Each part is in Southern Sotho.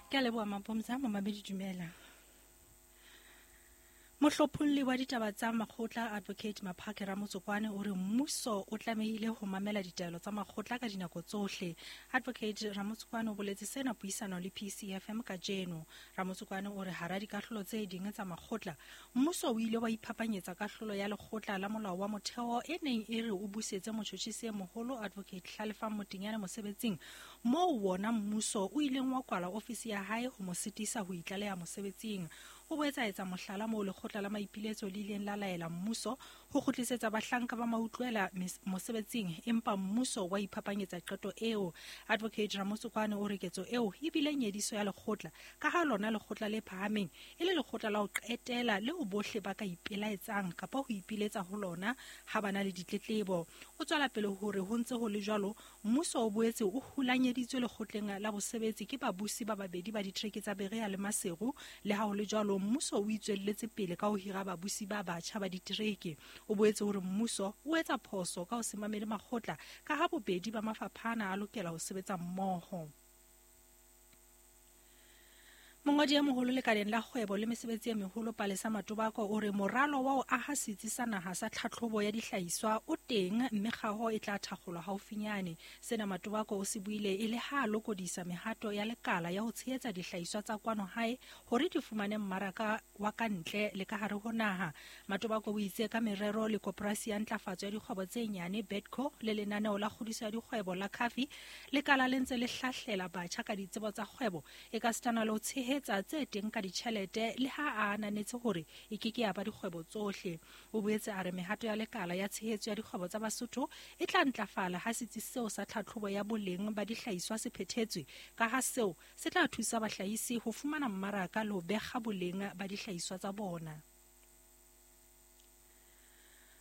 Ke a leboha Mapomza, momamedi dumela. Mohlopholli wa ditaba tsa makgotla Advocate Maphake Ramotsokwane o re mmuso o tlamehile ho mamela ditaelo tsa makgotla ka dinako tsohle. Advocate Ramotsokwane o boletse sena puisanong le PCFM kajeno. Ramotsokwane o re hara dikahlolo tse ding tsa makgotla, mmuso o ile wa iphapanyetsa kahlolo ya lekgotla la molao wa motheo e neng e re o busetse motjhotjhisi e moholo Advocate Hlalefang Motinyane mosebetsing, moo wona mmuso o ileng wa kwala ofisi ya hae ho mo sitisa ho itlaleha mosebetsing. O boetse a etsa mohlala moo lekgotla la maipiletso le ileng la laela mmuso ho kgutlisetsa bahlanka ba mautlwela mosebetsing, empa mmuso wa iphapanyetsa qeto eo. Advocate Ramotsokwane o re ketso eo e bile nyediso ya lekgotla, ka ha lona lekgotla le phahameng e le lekgotla la ho qetela leo bohle ba ka ipelaetsang kapa ho ipiletsa ho lona ha ba na le ditletlebo. O tswela pele hore ho ntse ho le jwalo, Mmuso o boetse o hulanyeditswe lekgotleng la bosebetsi ke babusi ba babedi ba ditereke tsa Berea le Maseru. Le ha ho le jwalo, mmuso o itswelletse pele ka ho hira babusi ba batjha ba ditereke. O boetse o re mmuso o etsa phoso ka ho se mamele makgotla ka ha bobedi ba mafapha ana a lokela ho sebetsa mmoho. Mongodi e moholo lekaleng la kgwebo le mesebetsi e meholo Palesa Matobako o re moralo wa ho aha setsi sa naha sa tlhatlhobo ya dihlahiswa o teng mme kgaho e tla thakgolwa haufinyane. Sena Matobako o se buile e le ha a lokodisa mehato ya lekala ya ho tshehetsa dihlahiswa tsa kwano hae hore di fumane mmaraka wa ka ntle le ka hare ho naha. Matobako o itse ka merero le koporasi ya ntlafatso ya dikgwebo tse nyane Bedco le lenaneo la kgodiso ya dikgwebo la Cafi, lekala le ntse le hlahlela batjha ka ditsebo tsa kgwebo ekasitana le ho tshehetsa tse teng ka ditjhelete le ha a ananetse hore e ke ke ya ba dikgwebo tsohle. O boetse a re mehato ya lekala ya tshehetso ya dikgwebo tsa Basotho e tla ntlafala ha setsi seo sa tlhatlhobo ya boleng ba dihlahiswa se phethetswe, ka ha seo se tla thusa bahlahisi ho fumana mmaraka le ho bekga boleng ba dihlahiswa tsa bona.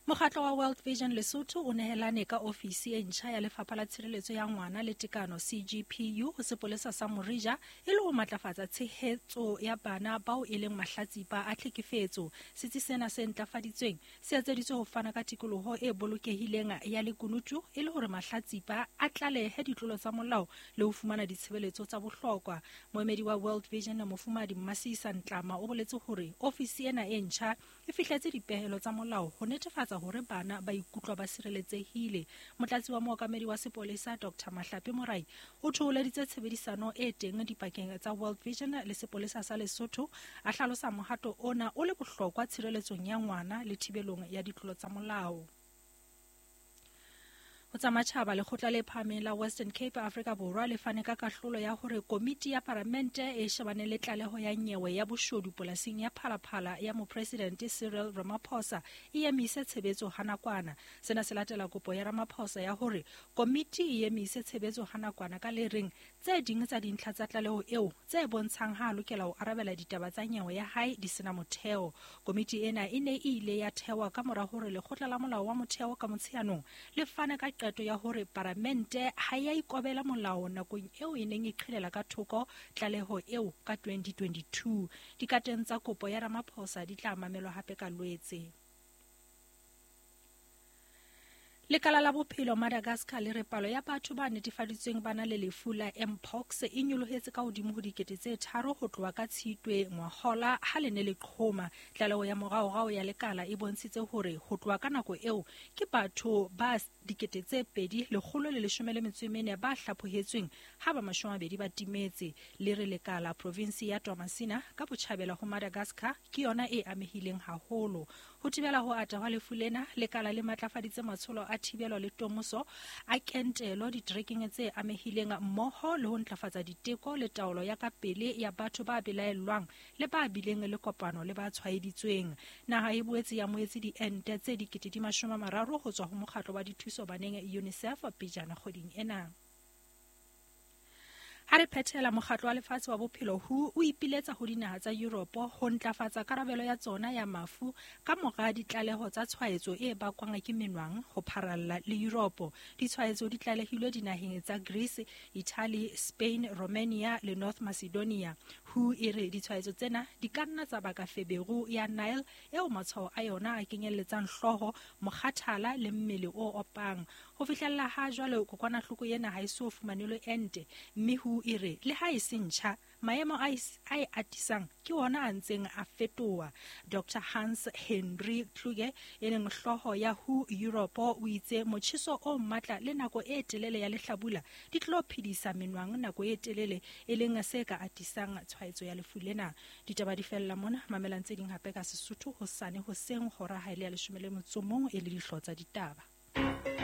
Mokgatlo wa World Vision Lesotho o nehelane ka ofisi e ntjha ya Lefapha la Tshireletso ya Ngwana le Tekano CGPU ho sepolesa sa Morija e le ho matlafatsa tshehetso ya bana bao e leng mahlatsipa a tlhekefetso. Setsi sena se ntlafaditsweng se etseditswe ho fana ka tikoloho e bolokehileng ya lekunutu e le hore mahlatsipa a tlalehe ditlolo tsa molao le ho fumana ditshebeletso tsa bohlokwa. Moemedi wa World Vision Mofumahadi Mmasisa Ntlama o boletse hore ofisi ena e ntjha e fihletse dipehelo tsa molao ho netefatsa hore bana ba ikutlwa ba sireletsehile. Motlatsi wa mookamedi wa sepolesa Dr Mahlape Morai o thoholeditse tshebedisano e teng dipakeng tsa World Vision le sepolesa sa Lesotho, a hlalosa mohato ona o le bohlokwa tshireletsong ya ngwana le thibelong ya ditlolo tsa molao. Ho tsa matjhaba, lekgotla le phahameng la Western Cape Afrika Borwa le fane ka kahlolo ya hore komiti ya paramente e shebaneng le tlaleho ya nyewe ya boshodu polasing ya Phalaphala ya mopresidente Cyril Ramaphosa e emise tshebetso ha nakwana. Sena se latela kopo ya Ramaphosa ya hore komiti e emise tshebetso ha nakwana ka le reng Tse ding tsa dintlha tsa tlaleho eo tse bontshang ha a lokela ho arabela ditaba tsa nyewe ya hae di sena motheo. Komiti ena e ne e ile ya thewa ka mora hore lekgotla la molao wa motheo ka Motsheanong le fane ka qeto ya hore paramente ha e a ikobela molao nakong eo e neng e qhelela ka thoko tlaleho eo ka 2022. Dikateng tsa kopo ya Ramaphosa di tla mamelwa hape ka Lwetse. Lekala la bophelo Madagascar le re palo ya batho ba netefaditsweng ba na le lefu la mpox e nyolohetse ka hodimo ho 3000 ho tloha ka Tshitwe ngwahola ha le ne le qhoma. Tlaleho ya moraorao ya lekala e bontshitse hore ho tloha ka nako eo ke batho ba 2114 ba hlaphohetsweng ha ba 20 ba timetse. Le re lekala provinsi ya Toamasina ka botjhabela ho Madagascar ke yona e amehileng haholo. Ho thibela ho ata hwa lefu lena, lekala le matlafaditse matsholo a thibelo le tomoso a kentelo diterekeng tse amehileng mmoho le ho ntlafatsa diteko le taolo ya ka pele ya batho ba belaellwang le ba bileng le kopano le ba tshwaeditsweng. Naha e boetse e amohetse diente tse 30,000 ho tswa ho mokgatlo wa dithuso baneng UNICEF pejana kgweding ena. Ha re phethela, Mokgatlo wa Lefatshe wa Bophelo, WHO, o ipiletsa ho dinaha tsa Europe ho ntlafatsa karabelo ya tsona ya mafu ka mora ditlaleho tsa tshwaetso e bakwang ke menwang ho pharalla le Europe. Ditshwaetso di tlalehilwe dinaheng tsa Greece, Italy, Spain, Romania le North Macedonia. WHO e re ditshwaetso tsena di ka nna tsa baka feberu ya Nile eo matshwao a yona a kenyelletsang hlooho, mokgathala le mmele o opang. Ho fihlella ha jwale kokwanahloko ena ha e so fumanelwe ente, mme WHO e re le ha e se ntjha, maemo a e atisang ke ona a ntseng a fetoha. Dr Hans Henry Kluge, e leng hlooho ya WHO Europe, o itse motjheso o matla le nako e telele ya lehlabula di tlo phedisa menwang nako e telele, e leng se ka atisang tshwaetso ya lefu lena. Ditaba di fella mona, mamelang tse ding hape ka Sesotho hosane hoseng hora ha e le ya 11 e le dihlooho tsa ditaba.